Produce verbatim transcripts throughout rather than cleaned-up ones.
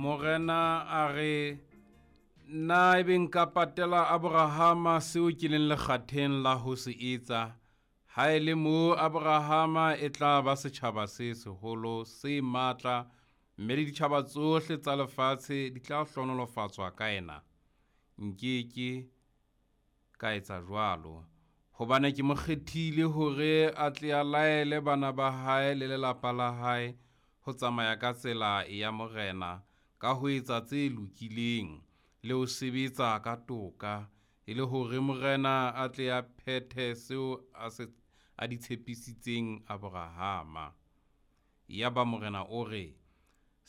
Morena a re, na ebe nka patela Abrahama seo ke leng lekgatheng la ho se etsa? Ha e le moo Abrahama e tla ba setjhaba se seholo se matla, mme le ditjhaba tsohle tsa lefatshe di tla hlohonolofatswa ka yena. Nkeke ka etsa jwalo, hobane ke mo kgethile hore a tle a laele bana ba hae le lelapa la hae ho tsamaya ka tsela ya Morena ka ho etsa tse lokileng le ho sebetsa ka toka, e le hore Morena a tle a phethe seo a se a di tshepisitseng Abrahama. Yaba Morena o re,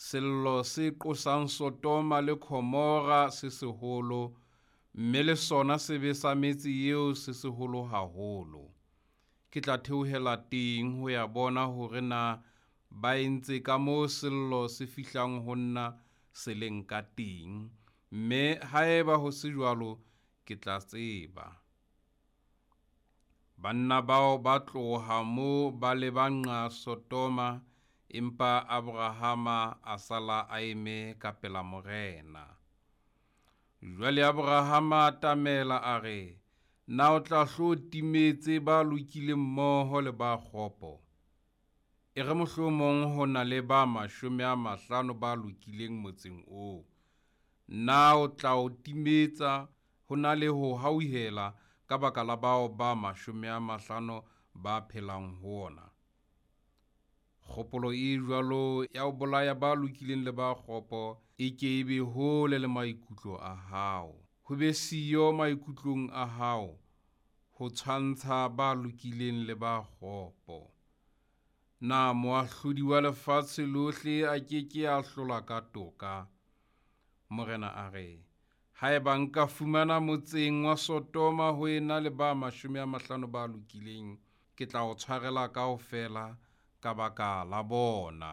sello se qosang Sodoma le Gomora se seholo, mme le sona sebe sa metse eo se seholo haholo. Ke tla theohela teng ho ya bona hore na ba entse ka moo sello se fihlang ho nna se leng ka teng, mme haeba ho se jwalo ke tla tseba. Banna bao ba tloha moo ba leba nqa Sodoma, empa Abrahama a sala a eme ka pela Morena. Jwale Abrahama a atamela a re, na o tla hlo timetse ba lokileng mmoho le ba kgopo? E re mohlomong ho na le ba mashome a mahlano ba lokileng motseng oo. Na o tla o timetsa ho na le ho hauhela ka baka la bao ba mashome a mahlano ba phelang ho ona? Kgopolo e jwalo ya ho bolaya ba lokileng le ba kgopo e ke e be hole le maikutlo a hao. Ho be siyo maikutlong a hao ho tshwantsha ba lokileng le ba kgopo. Na moahlodi wa lefatshe lohle a ke ke a hlola ka toka? Morena a re, haeba nka fumana motseng wa Sodoma ho ena le ba mashome a mahlano ba lokileng, ke tla o tshwarela kaofela ka baka la bona.